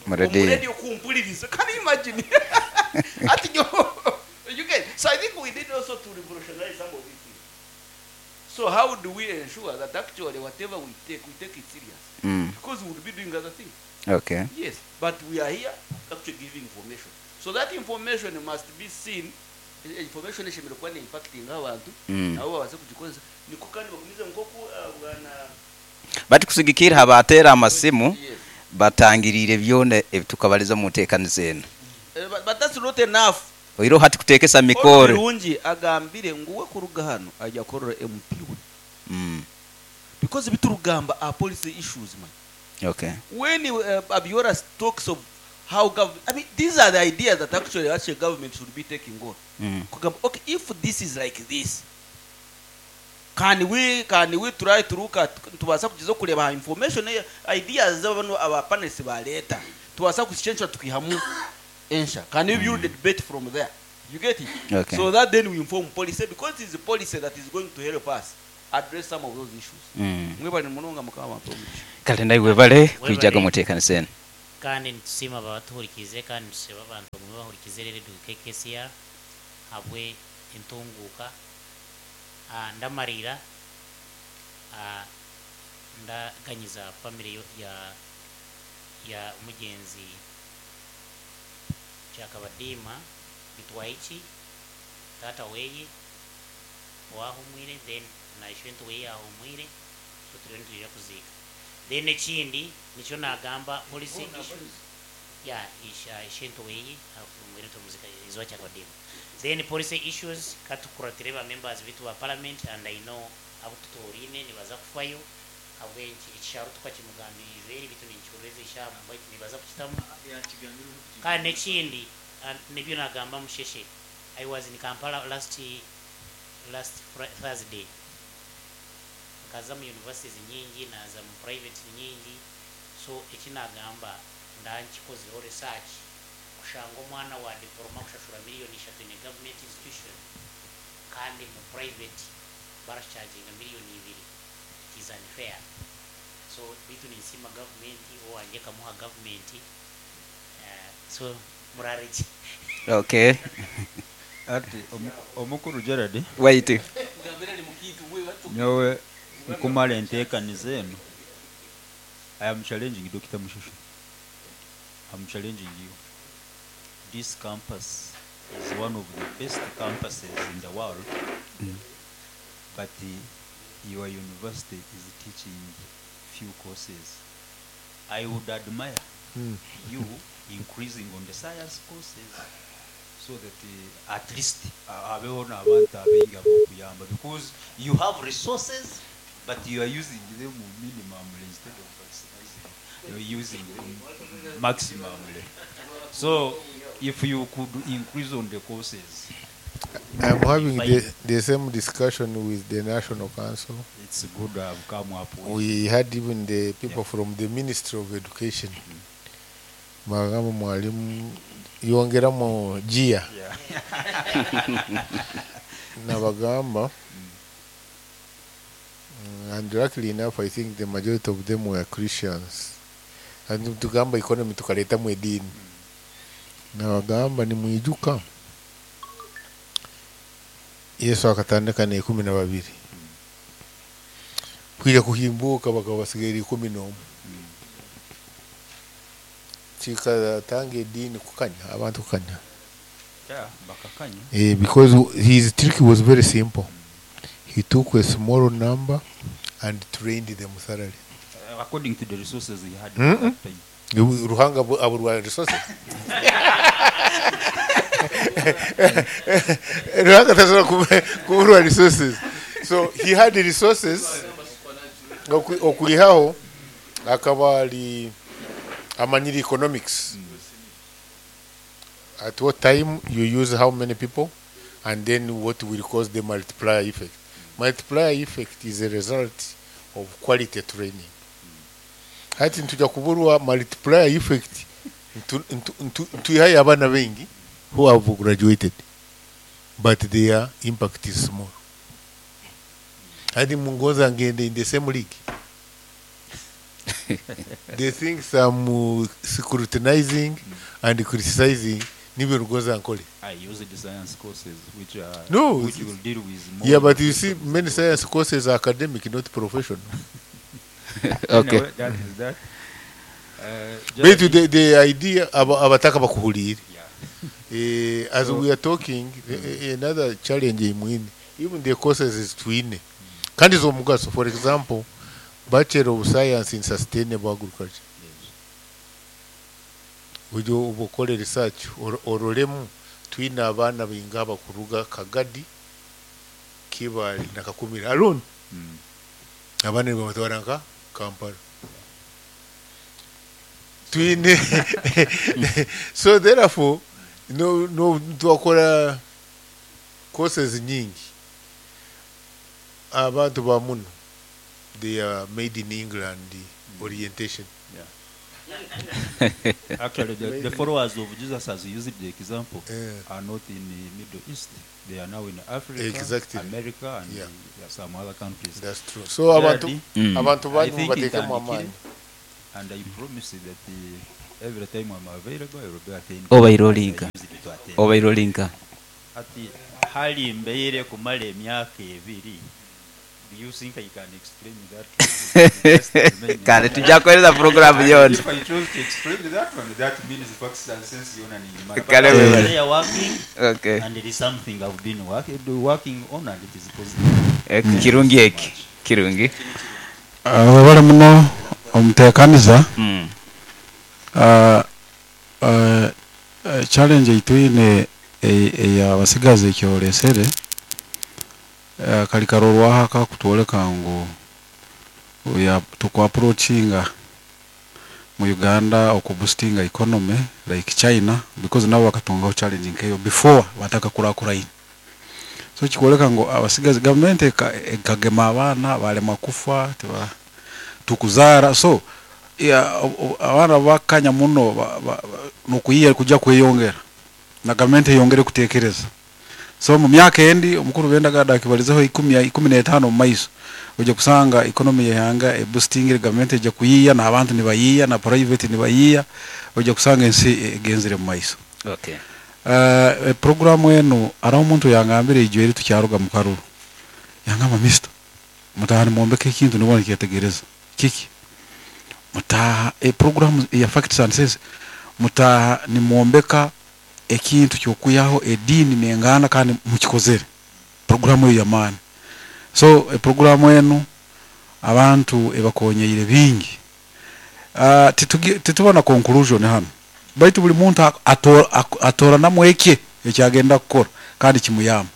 Mu radio. Mu radio kumpuliriza. Can you imagine? Ati you get. So I think we need also to revolutionize some of these things. So how do we ensure that actually whatever we take it serious? Because we would be doing other things. Okay. Yes, but we are here actually giving information. So that information must be seen. Information eshemereire kuba impacting abantu nabo babaze kugikozesa niko kandi bagumize nkoku bwana Bati kusigikira habatera amasimu batangirire byona ebitukabaliza mu nteekaniza eno. But that's not enough. Oiro hati kuteekesa mikoro. Birungi agambire nguwe kuruga hano ajya korora MP we. Because biturugamba are policy issues, man. Okay. When Abiora talks of how government, I mean, these are the ideas that actually government should be taking on. Okay, if this is like this, can we try to look at tubasa kugiza kureba information ideas z'abantu aba panelists ba leta tubasa kuchenja tukihamu ensha, can we build the debate from there? You get it? Okay. So that then we inform policy, because it's the policy that is going to help us. address some of those issues. Mwebale munonga, Mukama bampe omugisha. Kale naiwe bale kwijaga muteekanisa eno. Kandi nitusiima abatuhurikize, kandi nitusaba abantu bagume bahurikize redio KKCR habwe entunguka. Ndamarira, ndaganyiza family ya mugenzi Kyakabadiima Bitwaiki, tata weye wahumwire, then naishwentu weye ahumwire, so turiyo nitwija kuziika. Then ekindi nikyo nagamba policy issues ya isha ishentu weye ahumwire, tumuzika izwa Kyakabadiima. Then policy issues, katukuratire ba members bitu ba parliament, and I know abo tutorine nibaza kufayo habwenki ekisharo tukakimugambirize eri bitu ninkihuririza ishamu baitu nibaza kukitamu. Kandi nekindi, nibyo nagamba Musheshe, I was in Kampala last Thursday, nkaza mu universities nyingi, naza mu private nyingi. So ekinagamba ndankikozeho research, kushanga omwana wa diploma kushashura miliyoni 3 in a government institution, kandi mu private baracharginga miliyoni 2. It is unfair. So bitu ninsima government owange kamuha government. So murareki. Okay. Ati omukuru Gerard. Wait. Nyowe nkumara enteekaniza eno, I am challenging Dr. Mushushu. I'm challenging you. This campus is one of the best campuses in the world, but your university is teaching few courses. I would admire you increasing on the science courses so that at least abeho n'abantu abaingi ab'okuyamba, because you have resources but you are using them minimumly instead of maximizing. You're using them maximumly. So if you could increase on the courses. I'm having the same discussion with the National Council. It's good to have come up with. We had even the people from the Ministry of Education. Bagamba mwalimu yongeramu gear. Nabagamba, and luckily enough, I think the majority of them were Christians. And tugamba economy tukaletamu edini. Nabagamba nimwijuka Yesu akatandika na 12, kwija kuhimbuka bakaba basigaire 11. Kikatanga edini kukanya abantu kukanya. Yeah, bakakanya. Because his trick was very simple. He took a small number and trained them thoroughly. According to the resources he had at that time. Ruhanga aburwa resources. Ruhanga tasobola kuburwa resources. So he had the resources. Okulihaho akaba ali amanyiri economics. At what time you use how many people, and then what will cause the multiplier effect. Multiplier effect is a result of quality training. Hati ntuja kuburwa multiplier effect ntuihaye abana bengi who have graduated, but their impact is small. Hadi mungoza ngende in the same league. The things I'm scrutinizing and criticizing nibyo rugoza nkole. I use the science courses which are No, which will deal with more. Yeah, but you see, many science courses are academic, not professional. Okay. Anyway, that is that. But Gerald, the idea abataka bakuhulire. As So- we are talking, another challenge imwine, even the courses is twine. Kandi z'omugaso, for example, Bachelor of Science in Sustainable Agriculture. Ujo ubukole research orolemu twine abaana bainga abakuruga Kagadi, Kibali na Kakumira alone. Abaana nibabatwara nka Kampala. Twine so therefore no twakora courses nyingi. Abantu ba muno, they are made in England orientation. Actually, the followers of Jesus, as you used the example, are not in the Middle East. They are now in Africa, America, and some other countries. That's true. So abantu Gerard, abantu I bandi think mubateekemu ntandikire, amaanyi. And I promise that every time I'm available, I will be attending. Obairolinka. I used to attend. Obairolinka. Ati hali mbeire kumala emyaka 2. Do you think I can explain that? Kale tujja kuweereza program yona. If I chose to explain that one, that means facts and sense yona ni imara. Kale But wewe. they are working, Okay. and it is something I've been working on, and it is positive. Kirungi eki. Kirungi. Webale muno omuteekaniza. Challenge eitwine ey'abasigazi ekyolesere kali karorwaho akakutwoleka ngu tukwaapproachinga mu Uganda okuboostinga economy like China, because nabo bakatungaho challenge nkeyo before bataka kurakuraine. So kikwoleka ngu abasigazi government ekagema abaana balema kufa tukuzara. So abaana bakanya muno nokuyiya kujja kweyongera na government eyongere kutekereza. So mu myaka endi omukuru bendagada akibalizeho 15 mu maiso ojja kusanga economy yehanga eboostingire, government ejja kuyiya na abantu nibayiya na private nibayiya, ojja kusanga ensi egenzire mu maiso. Okay. Program eno araho omuntu yangambire ijo eri tukyaruga mu karuru, yangamba mister mutaha nimuombeke ekintu nibona nikyetegereza kiki mutaha program ya facts and sense mutaha nimuombeka ekintu kyokuyaho edini nengana kandi mukikozere programu eyo yamaani. So programu eno abantu ebakonyeire bingi. Titubona conclusion hano, baitu buli muntu atora namweke ekyagenda kukora kandi kimuyamba.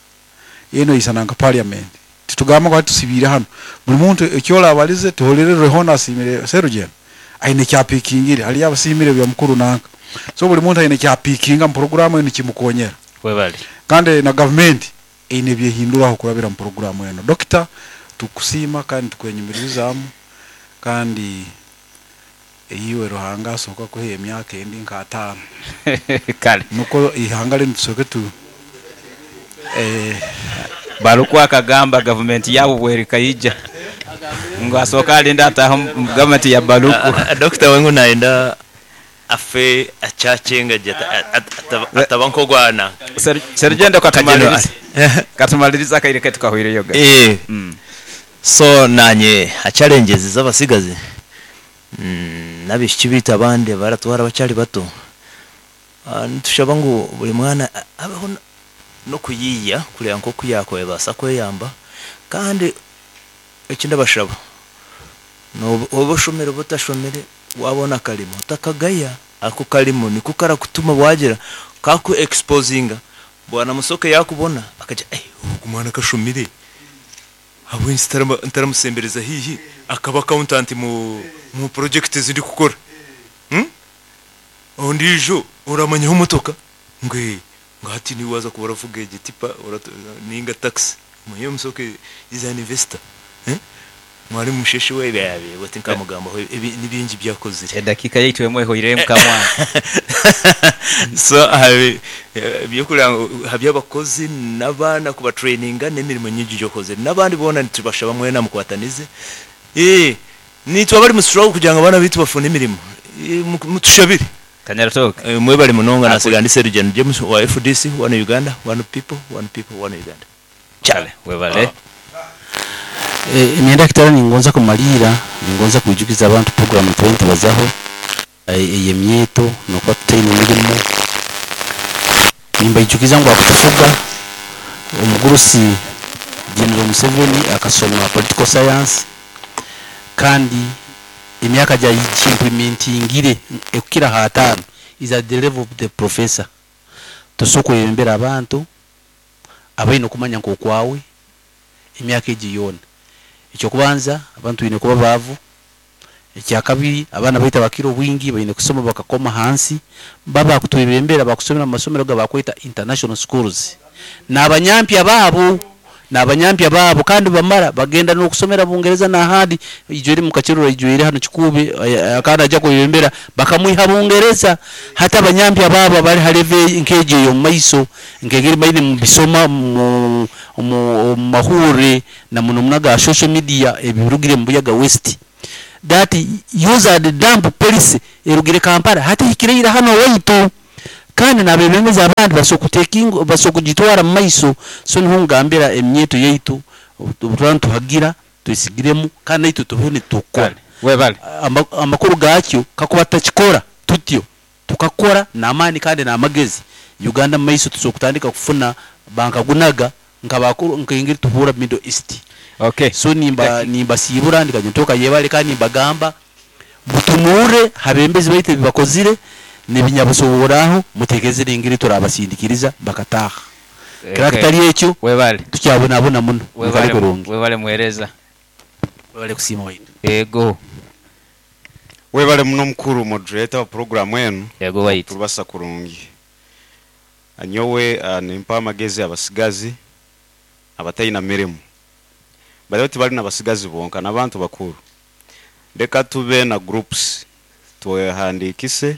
Eno isana nka parliament titugamba ko tusibire hano, buli muntu ekyola abalize tuholere rehona asimire serugendo aine kyapikingire hali abasimire bya mukuru nanka. So buli muntu aine kyapikinga mu programu eno kimukonyera webali, kandi na government ine byehinduraho kurabira mu programu eno. Doctor, tukusima kandi tukwenyumirizamu kandi iwe Ruhanga asoka kuhe emyaka endi nka 5. Kale nuko ihanga lino tusoke tu Baluku akagamba government yabo bwereka ija ngo asoka alinda ataho government ya Baluku. Doctor wengu naenda afe achache ataba nkogwana. Serugendo katumaliriza kaire tukahwire yoga. So nanye a challenges z'abasigazi nabishiki bita abandi baratwara bacyari bato. Nitushaba ngu buli mwana abeho no kuyiya kureba nko kuyakoye basa kweyamba, kandi ekindi bashaba no oboshomere butashomere wabona kalimo utakagaya ako kalimo niko karakutuma wagira kaku exposinga bwana musoke yakubona akaja umwana kashomire abo ntaramusembereza hihi akaba accountant mu project zindi kukora ondijo uramanya umutoka ngwe ngati ni waza kubara vuga igitipa ninga taxi muyo musoke is an investor mwari musheshe we byabe bati nkamugamba nibingi byakozire edakika yitwe mweho irem kamwa. So byokura habya abakozi nabana kuba traininga nemirimo nyingi yokoze nabandi bona ntibashaba mwe namukwatanize nitwa bari musuraho kugira ngo abana bitu bafune imirimo mutushabire Kanyaratoke. Mwe bari munonga nasigandi Sergeant James wa FDC, one Uganda, one people, one people, one Uganda. Chale webale. Imyenda kitara ningonza kumalira ningonza kuijukiza abantu program 20 bazaho eyemyeto nokwa tutaine mirimo nimba ijukiza ngo akutufuga omugurusi General Museveni akasoma political science kandi emyaka ja implementingire ekukira hatano is at the level of the professor. Tosoko yembera abantu abaino kumanya nkokwawe emyaka egi yona. Ekyokubanza abantu bine kuba bavu, ekyakabiri abana baita bakiro bwingi bayine kusoma bakakoma hansi baba kutubembera bakusomera mu masomero gabakwita international schools n'abanyampya babo N'abanyampya baabo kandi bamara bagenda n'okusomera Bungereza n'ahandi. Ijwere mukakirora ijwere hano Kikuube, kandi ajya kwebembera bakamwiha Bungereza. Hati abanyampya baabo bari ha level nk'egyo ey'omu maiso, nk'engeri maine mubisoma mu mahurre na muno muno aga social media ebirugire mu Buyaga West. That use and dump policy erugire Kampala hati ehikireire hano owaitu, kandi n'abebembezi abandi basobola kugitwara mu maiso. So niho ngambira emyeto yaitu obu nituhagira twesigiremu, kandi naitwe tubeho nitukora. Webale. Amakuru gakyo kakuba tutakikora tutyo, tukakora n'amaani kandi n'amagezi, Uganda mu maiso tusobola kutandika kufuna bankagunaga nkabakuru nk'engeri tuhura Middle East. So nimbasiibura ndikanyontoka yebale, kandi nimbagamba mutunure habembezi baitu ebibakozire nebinyabusoboraho, mutekereze n'engeri turabasindikiriza bakataha. Kira kitali ekyo, Webale. tukyabonabona muno. Webale. Mukale kurungi. Webale muhereza. Webale kusiima waitu. Ego. Webale muno mukuru moderator wa program enu. Ego waitu. Turubasa kurungi. Anyowe nimpa amagezi abasigazi abataina mirimu. Bali tibali nabasigazi bonka n'abantu bakuru. Leka tube na groups twehandikise,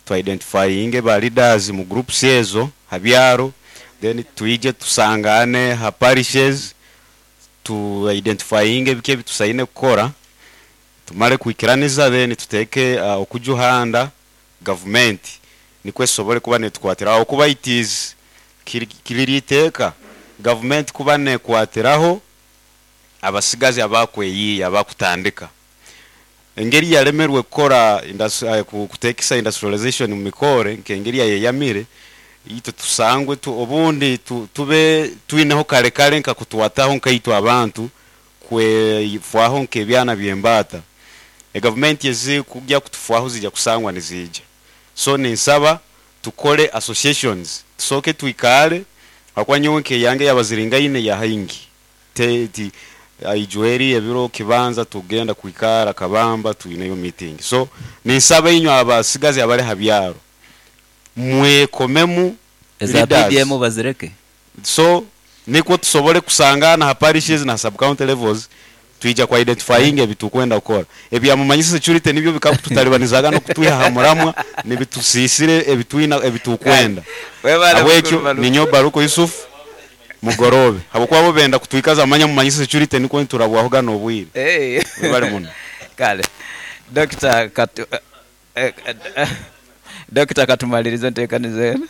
twa-identifyinge ba leaders mu groups ezo habyaro, then tuije tusangane ha parishes, tu identifyinge bike bitusaine kukora, tumale kuikiraniza, then tuteke okujuhanda government nikwe sobole kuba netukwatiraho, kuba it is kiririteka government kuba nekwatiraho abasigazi abakweyiya abakutandika. Engeri yalemerwe kukora kutekisa industrialization mu mikore nkengeri yayeyamire ito tusangwe tu, obundi tube twineho kale kale nka kutwataho nkaitwa abantu kwefwaho nkebyana byembata. E government yezi kujya kutufwaho zijya kusangwa nizija. So ninsaba tukole associations, tusoke tuikale akwa nyowe nke yange yabaziringaine ya haingi ti aijueri ebiro kibanza tugenda kuikara kabamba tuineyo meeting. So ninsaba inyo abasigazi abale habyaro mwekomemu eza leaders. PDM bazireke. So niko tusobole kusangana ha parishes na sub county levels, tuija kwa identifying ebitukwenda kukora. Ebyamumanyisa security nibyo bikakututalibanizaga no kutwiha hamuramwa nibitusisire ebitwina ebitukwenda. Webale Abwekyo mukuru Baruku. ninyo Baruku Yusuf mugorobe. Habwokuba bo benda kutwikaza amanya mumanyisa security niko nturabwahoga nobwire. Webale muno. Kale. Dr. Katu, Dr. Katumalirize ntekanize eno.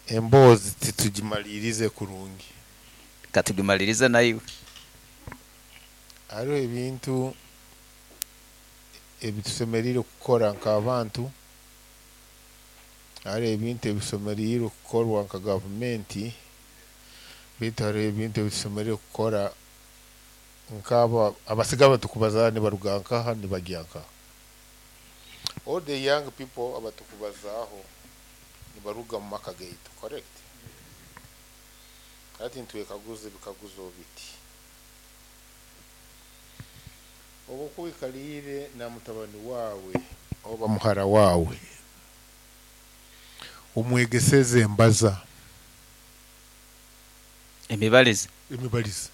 Emboozi titugimalirize kurungi. Katugimalirize naiwe. Hariho ebintu ebitusemerire kukora nk'abantu, hariho ebintu ebisemerire kukorwa nka gavumenti, baitu hariho ebintu ebitusemerire kukora nk'aba abasiga abatukubaza nibaruga nkaha nibagya nkaha. All the young people abatukubazaho nibaruga mu maka gaitu, correct? Hati ntwekaguze ebikaguzo biti. Obu okuikalire na mutabani wawe oba muhara wawe, omwegeseze embaza. Emibalize. Emibalize.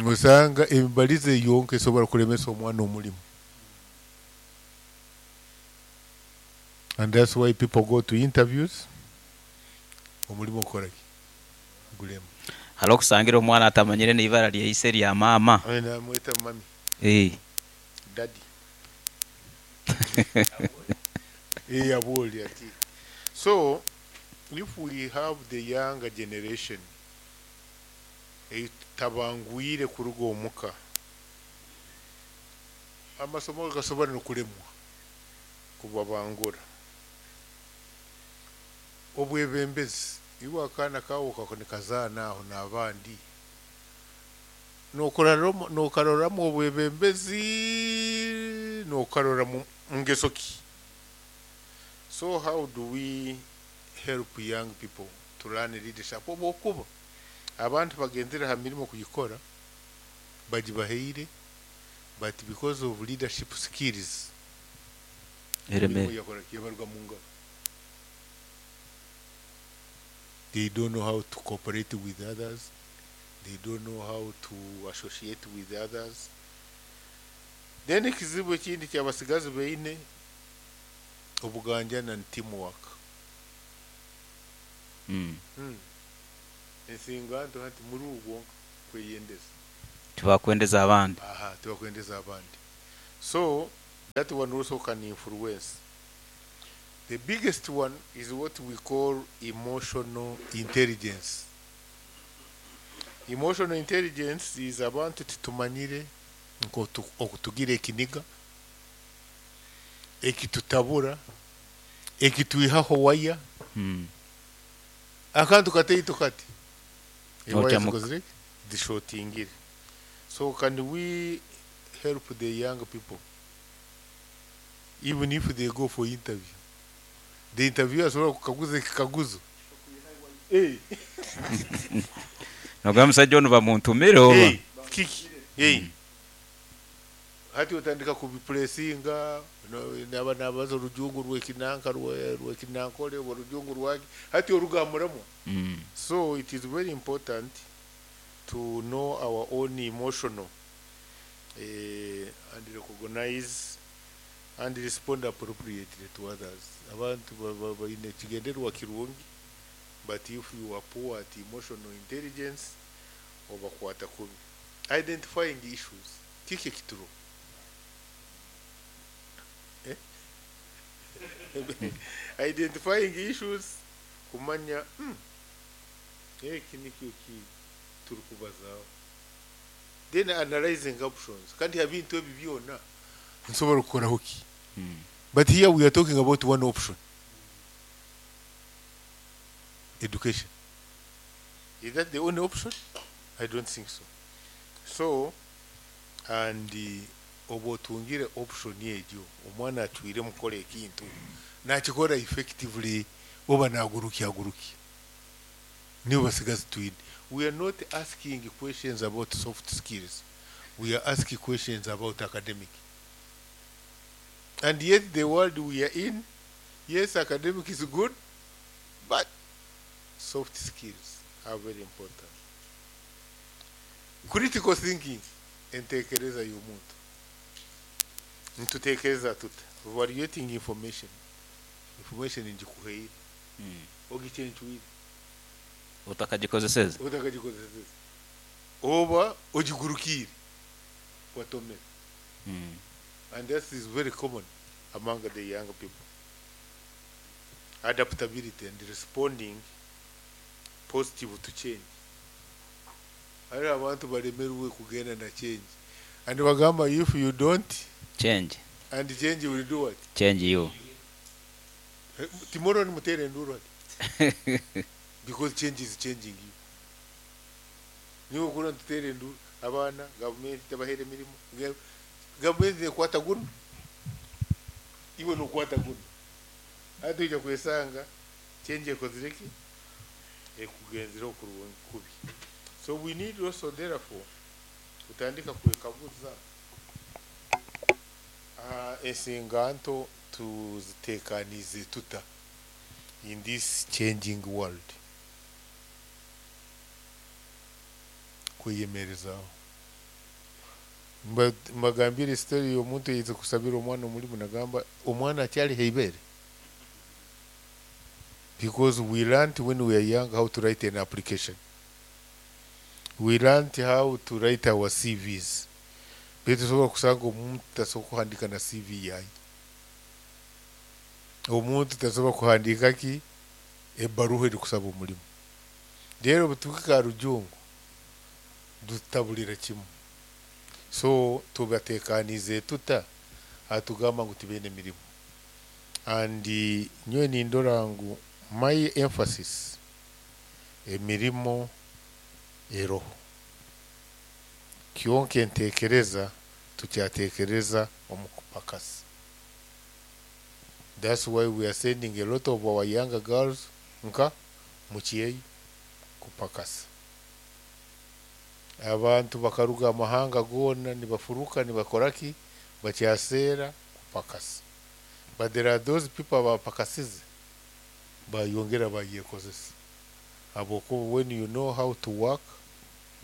Osanga emibalize yonka esobola kulemesa omwana omulimu. And that's why people go to interviews. Omulimu okora ki? Gulema. Hali okusangira omwana atamanyire n'ibara lyaise lya mama. Namweta mami. Daddy. Aboli ati. So if we have the younger generation tabangwire kuruga omuka, amasomo gasobora n'okulemwa kubabangura. Obwebembezi iwe akaana kawe nikazaana aho n'abandi, nokaroramu obwebembezi, nokarora mu ngeso ki. So how do we help young people to learn leadership? Obwokuba abantu bagendera ha mirimo kugikora bagibaheire, but because of leadership skills Eremere. yabaruga mu ngaro. They don't know how to cooperate with others. They don't know how to associate with others. Then ekizibu ekindi kyabasigazi beine obuganjana ni teamwork. Ensinganto hati muri ubwo kweyendeza. Tibakwendeza abandi. Aha, tibakwendeza abandi. So that one also can influence. The biggest one is what we call emotional intelligence. Emotional intelligence is abantu titumanyire okutugira ekiniga, ekitutabura, ekitwihaho waya. Akantu kataito kati. Ewaya zikozire zishotingire. So can we help the young people? Even if they go for interview, the interviewer asobola kukaguza ekikaguzo. Hey. Nogamba musajja ono bamuntumire oba? Hey, kiki? Hey. Hati otandika kubipulesinga, naba nabaza orujungu rw'ekinanka rw'ekinankole oba orujungu rwaki, hati orugamuramu. So it is very important to know our own emotional and recognize and respond appropriately to others. Abantu baine ekigendererwa kirungi, but if you are poor at emotional intelligence, obakwata kubi. Identifying issues. Kiki ekituro? Identifying issues, kumanya, eki nikyo ki turikubazaho. Then analyzing options. Kandi ebintu ebi byona nsobola kukoraho ki? But here we are talking about one option. Education. Is that the only option? I don't think so. So, and oba otungire option egyo, omwana acwire mukora ekintu, nakikora effectively, oba naguruki aguruki. Nibo basigazi twine. We are not asking questions about soft skills. We are asking questions about academic. And yet the world we are in, yes, academic is good, but soft skills are very important. Critical thinking, entekereza y'omuntu. Nitutekereza tuta? Evaluating information. Information njikuheire. Ogichenchuire. Utakagikozeseza. Utakagikozeseza. Oba ogigurukire. Watomere. And that is very common among the young people. Adaptability and responding positive to change. Hari abantu baremerwe kugenda na change. And bagamba if you don't change, and change will do what? Change you. Tomorrow ni mutere nduru ati. Because change is changing you. Niwe kura tutere nduru abana government tabahere mirimo. Government ekwata guno. Iwe nokwata guno. Atuija kwesanga change ekozireki ekugenzera okurungi kubi. So we need also therefore kutandika kwekaguza ensinganto tuzitekanize tuta in this changing world. Kweyemerezaho. Mbagambire story y'omuntu yize kusabira omwana omulimu nagamba omwana akyali heibere. Because we learned when we are young how to write an application. We learned how to write our CVs. Baitu tusobola kusanga omuntu tasobola kuhandika na CV yaye. Omuntu tasobola kuhandika ki ebbaruha eri kusaba omulimu. Rero butuka rujungu dutabulira kimu. So tubatekanize tuta atugamba ngu tibene mirimu. And nyowe nindora ngu my emphasis emirimo eroho. Kyonke ntekereza tukyatekereza omukupakasi. That's why we are sending a lot of our younger girls nka mukyeyi kupakasa. Abantu bakaruga amahanga gona nibafuruka nibakoraki bakyasera kupakasa. But there are those people abapakasize bayongera bayekozesa. Habwokuba when you know how to work,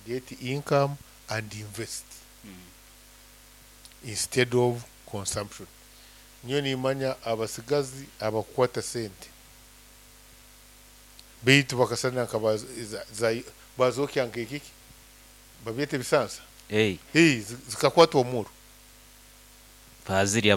get income and invest instead of consumption. Nyowe nimanya abasigazi abakukwata sente baitu bakasana nka bazokya nk'ekiki babyeta ebisansa. Hey. Hey, zikakwata omuro. Bazirya.